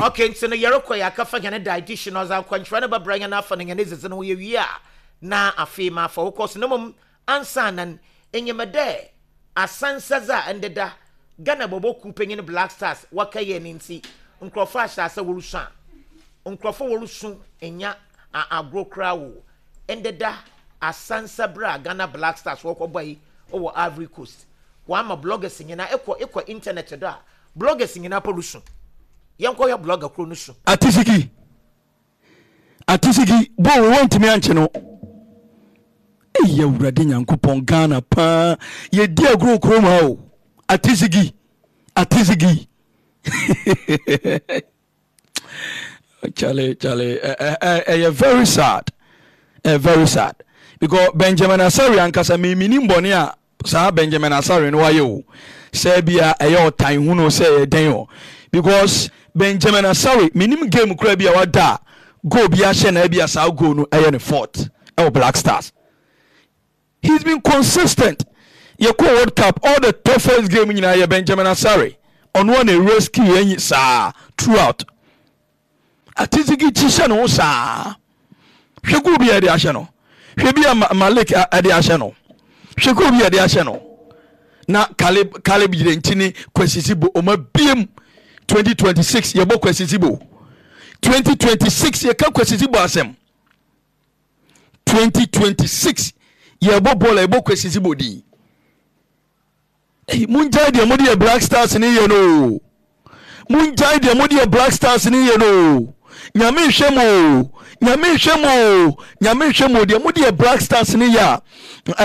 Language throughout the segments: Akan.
Okay, nti no yɛrekɔ yɛ akafa hɛn dietitian ɔdze akwankyerɛ no bɛbrɛ hɛn afa no hɛn edzidzi no ho. Yɛwie a, na afei mafa wo kɔ so. Na mmom ansaana no, enyim dɛ asansadze a ndeda Ghana bɔbɔ kuw panyin Black Stars wɔkɛyɛɛ no ntsi, nkorɔfo ahyɛ ase worusu a, nkorɔfo worusu nnya agor koraa o. Ndeda asansa ber a Ghana Black Stars wɔkɔbɔe wɔ Ivory Coast, wɔama bloggers nyina, ekɔ ekɔ internet do a, bloggers nyina mpo rusu. Yɛnkɔhwɛ blogger kor no su. Atisiki Atisiki bɔɔl wei wantumi ankye no. Eyi Awurade Nyankopɔn, Ghana paa yɛdi agorɔ kurom ha o. Atisiki Atisiki Charlie, Charlie, ɛyɛ very sad, very sad because Benjamin Asare ankasa miminim bɔne a saa Benjamin Asare no wayɛ o, sɛ bia ɛyɛ ɔtan hunu sɛ ɛyɛ dɛn o, because Benjamin Asare menim game kura bi a wada a goal bi ahyɛ na bia saa goal no ɛyɛ ne fault ɛwɔ Black Stars. He's been consistent. Yɛkɔ World Cup, all the toughest game nyinaa yɛ Benjamin Asare ɔno a na rescue yɛn saa throughout. Atizigi kyi hyɛ ne ho saa. Hwɛ goal bi a yɛde ahyɛ no. Hwɛ bi a Malik ɛde ahyɛ no. Hwɛ goal bi a yɛde ahyɛ no. Na Caleb Yirenkyi ne Kwesi Sibo ɔma biem 2026 yɛbɔ Kwesi Sibo. 2026 yɛka Kwesi Sibo asɛm. 2026 yɛbɔ bɔɔl a yɛbɔ Kwesi Sibo din. Ei, mongyae deɛ mode yɛ Black Stars ne yɛ no o. Mongyae deɛ mode yɛ Black Stars ne yɛ no o. Nyame nhwɛ mo o. Nyame nhwɛ mo o. Nyame nhwɛ mo o. Deɛ mode yɛ Black Stars ne yɛ a,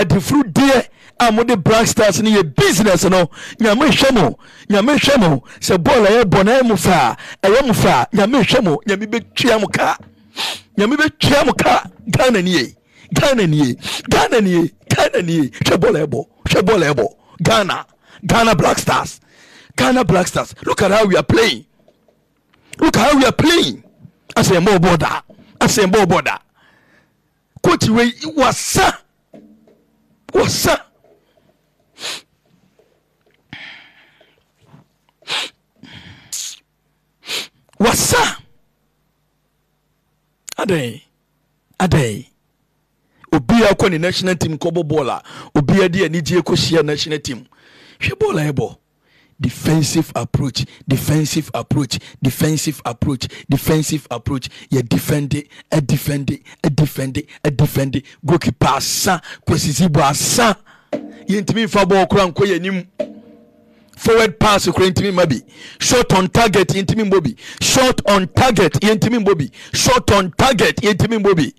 adifuru deɛ a mode Black Stars ne yɛ business no, Nyame nhwɛ mo. Nyame nhwɛ mo. Sɛ bɔɔl a yɛbɔ no ɛyɛ mo fɛ a, ɛyɛ mo fɛ a, Nyame nhwɛ mo. Nyame bɛtua mo ka. Nyame bɛtua mo ka. Ghana nie. Ghana nie. Ghana nie. Ghana nie. Hwɛ bɔɔl a yɛbɔ. Hwɛ bɔɔl ɛbɔ Ghana, Ghana Black Stars, Ghana Black Stars. Look at how we are playing, look at how we are playing. Asɛ yɛn bɔɔl bɔɔl da, asɛ yɛn bɔɔl bɔɔl da. Coach wei wasa, wasa. Wasa. Adɛn, adɛn? Obiara kɔ ne national team kɔbɔ bɔɔl a, obiara de anigyeɛ kɔhyia national team. Hwɛ bɔɔl a ɛbɔ. Defensive approach, defensive approach, defensive approach, defensive approach. Yɛ defende, defende, defende, defende. Goalkeeper asa, Kwesi Zibo asa. Yɛntumi nfa bɔɔl koraa nkɔ yɛn anim. Forward pass koraa ntumi mma bi. Shot on target yɛntumi mbɔ bi. Shot on target yɛntumi mbɔ bi. Shot on target yɛntumi mbɔ bi.